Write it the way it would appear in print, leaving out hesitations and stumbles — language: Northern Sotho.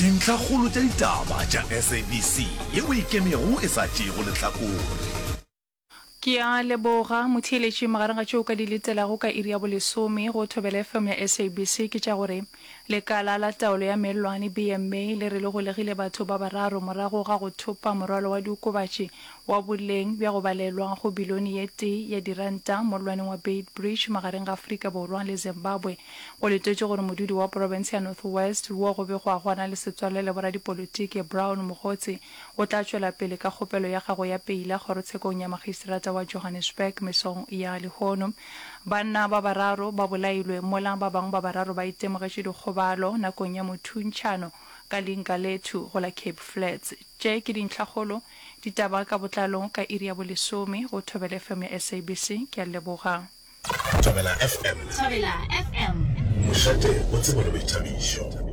Dintlhakgolo tša ditaba tša SABC yeo e ikemego e sa tšeego lehlakore. Ke a leboga motheeletši. Magareng ga tšeo o ka di letelago ka iri ya bolesome go Thobela FM ya SABC ke tša gore Lekala la Taolo ya Mellwane, BMA, le re le golegile batho ba bararo morago ga go thopa morwalo wa diokobatši wa boleng bja go balelwa go bilione ye tee ya diranta mollwaneng wa Beitbridge magareng ga Afrika Borwa le Zimbabwe. Go letetšwe gore modudi wa profense ya North West wo go begwago a na le setswalle le boradipolotiki Brown Mogotsi o tla tšwela pele ka kgopelo ya gagwe ya peila kgorotshekong ya magistrata wa Johannesburg mesong ya lehono. Banna ba bararo ba bolailwe mola ba bangwe ba bararo ba itemogetše dikgobalo nakong ya mothuntšhano ka Lingalethu go la Cape Flats. Tše ke dintlhakgolo ditaba ka botlalo ka iri ya bolesome go Thobela FM ya SABC. Ke a leboga. Thobela FM. Thobela FM. Mošate wa tsebo le boithabišo.